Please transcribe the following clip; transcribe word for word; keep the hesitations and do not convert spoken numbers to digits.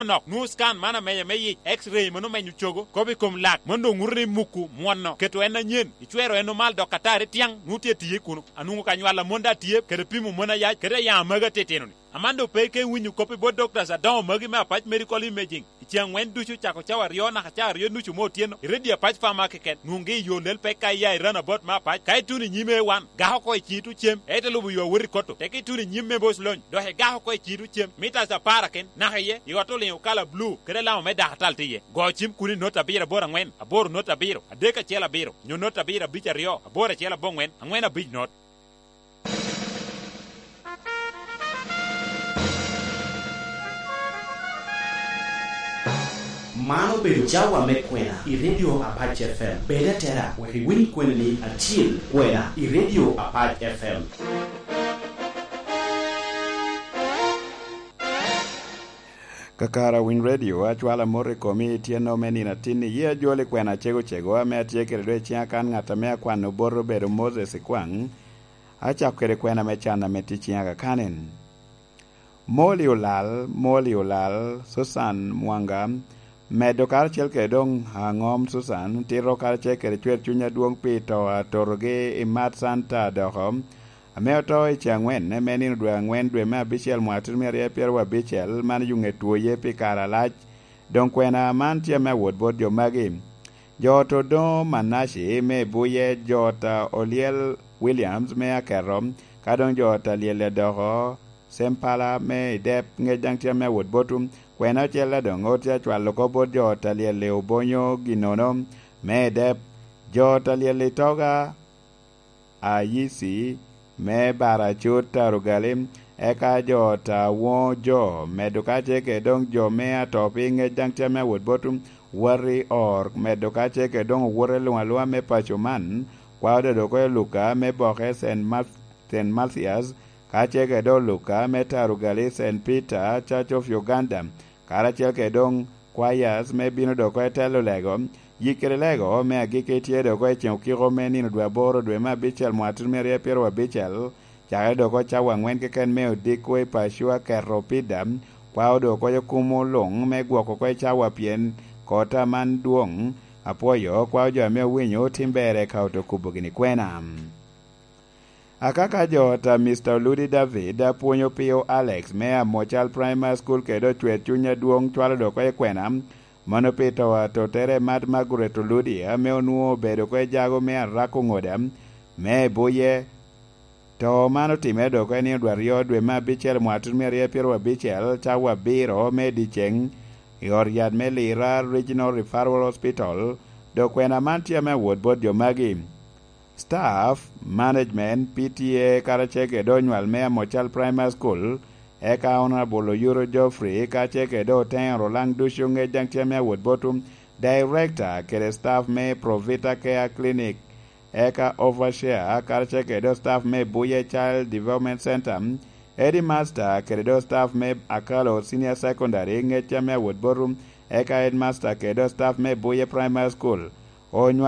nok, nwoŋo scan man amenya me yic, X-ray mano menyo cogo, kop i kom lak, mano doŋ ŋuto ni muku mwono, keto en anyen, icwero en omal dok atari tyaŋ, nwoŋo tye atiye kuno. Anwoŋo ka nywal amon daŋ atye, kede pimo mon ayac, kede ayaŋ amagi atitino-ni. Aman doŋ pe ike winyo kop i bot doctors adoŋo magi me Apac Medical Imaging. I ceŋ aŋwen ducu cako cawa aryo naka cawa aryo nucu me otyeno, i redio Apac Pharma keken, nwoŋgi i yo lel pek ka iya i runabout me Apac, ka ituno i nyim A one, gako oko i ciŋi tucem, ite lubo yo awot i koto, teke ituno i nyim me Bos Lony, dok igako oko i ciŋi tucem, mitas apar aken, naka iye, i ot oliŋo kala bulu, kede alama me dakatal tye iye. Go cim kuno i not abiro aboro aŋwen, aboro not abiro, adek acel abiro, nyo not abiro abic aryo, aboro acel aboŋwen, aŋwen abic not. Man obedo cawa me kwena i Radio Apac F M. Bed atera wek iwiny kweni acil kwena i Radio Apac F M. Kakare Winy Radio, acwalo amot i komi i tyeno me nino atin-ni. Ye ajwol i kwena acego cego ame atye kede dwe ciŋa kan ŋat ame akwano bot obedo Moses Ikwaŋ. Acako kede kwena me can ame tye ciŋa kakanen. Moli olal, moli olal, Susan Mwanga, medo karacel kede doŋ aŋom Susan, tito karacel kede cwer cuny adwoŋ pi to a totogi i Mat Santa doko, ame oto i ce aŋwen, me nino dwe aŋwen, dwe me abicel, mwaka tutumia aryo pyeraryo abicel, man yuŋe twoye pi kare alac. Doŋ kwena man tye ame awot bot jo magi. Jo ot Odoŋo Manaci me Buye, jo ot a Olyel Williams me Aketo, ka doŋ jo ot a Lyel Adoko, Sempala me Idep, ŋec daŋ tye ame awot botwu. Kwena ocel a doŋ ot tye acwalo oko bot jo ot a Lyel i Obonyo ginnono me Idep, jo ot a Lyel Itoga, Ayisi me Baracut Tarugali, eka jo ot a Woŋo Jo, medo kacel kede doŋ jo me Atopi, ŋec daŋ tye ame awot botwu. Wot i Or, medo kacel kede doŋ owote luŋ aluŋa me paco man, kwao dodo oko i Luka me boke Saint Mat-, Saint Mathias, kacel kede doŋ Luka me Tarugali Saint Peter Church of Uganda, karacel kede doŋ kwayas me bino dok oko i telo lego. Yik kede lego me agikki tye dok oko i ceŋ okiko me nino dwe aboro dwe me abicel mwaka tutumia aryo pyeraryo abicel, cakere dok oko cawa aŋwen keken me odiko i paco Aketo Pida, kwao dok oko kumo luŋ me gwoko oko i cawa pien kota man dwoŋ. Apwoyo kwao jo ame owinyo tim ber eka oto kubo gini kwena. Akaka jo ot a Mister Oludi David apwonyo pio Alex me Amocal Primary School kede ocwer cuny adwoŋ cwalo dok oko i kwena, mano pi to a tottere Mad Margaret Oludi ame onwoŋo obedo oko i jago me Arako Ŋoda me Buye. To man otimere dok oko i nino dwe aryo dwe me abicel mwaka tutumia aryo pyeraryo abicel, cawa abiro me dyeceŋ, i ot yat me Lira Regional Referral Hospital. Dok kwena man tye ame awot bot jo magi. Staff, management, P T A, karacel kede onywal me Amocal Primary School, eka Honorable Oyuro Geoffrey, kacel kede oteŋo Rolaŋ ducu ŋec daŋ tye ame awot botwu, Director kede staff me Provita Care Clinic, eka Overseer, karacel kede staff me Buye Child Development Center, Headmaster kede do staff me Akalo Senior Secondary, ŋec tye ame awot botwu, eka Headmaster kede do staff me Buye Primary School, onywal